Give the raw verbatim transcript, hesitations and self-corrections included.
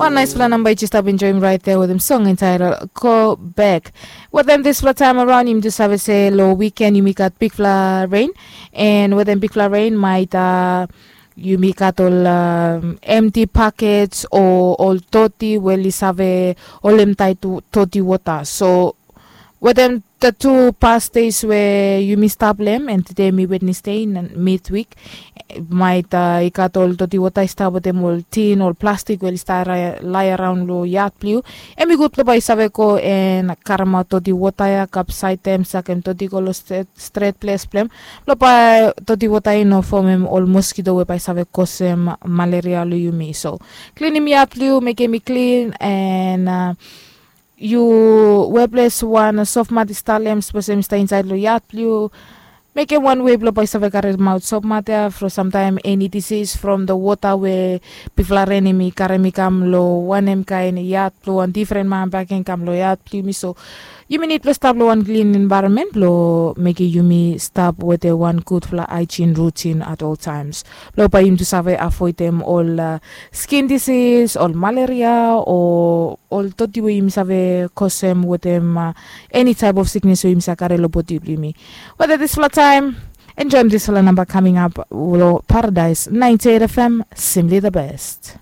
Wan naispela namba i just stap enjoim rait ya wetem song entitled Go Back. Wetem dispela taim araun yumi tu save se long wiken yumi gat bikpela rein, and wetem bikpela rein mait uh, yumi gat ol um, empty packets o ol toti we oli save holemtai toti wota. So wetem the two past days we yumi stap long em, and today mi Wednesday midweek, mait uh, i gat ol toti wota i stap wetem ol tin ol plastik we oli stap lai araun long yat blong yu. Em i gutpela bai yu save go and karemaot toti wota ya kapsait em sakem toti go long stret ples blong em, long bai toti wota i no fomem ol moskito we bai save kosem malaria long yumi. So klinim yat blong yu, mekem i klin, and uh, yu weples wan sofmat i stap long em sapos em i stap insait long yat blong yu. Mekem wan wei blong bai save karemaot sofmat ya from samtaim eni disis from the wota we bifala ren em i karem i kam long wanem kain yat blong wan difren man baken kam long yat blong yumi. So yumi nid blong stap long wan klin envaeronmen blong mekim yumi stap wetem wan gudfala haijin rutin at ol taims blong bai yumi tu save avoidem ol uh, skin disis ol malaria o ol toti we yumi save kosem wetem uh, eni taip of siknes we yumi save kare long bodi blong yumi. Wetem dispela taim, enjoim dispela namba kaming ap long Paradise ninety-eight F M, simply the best.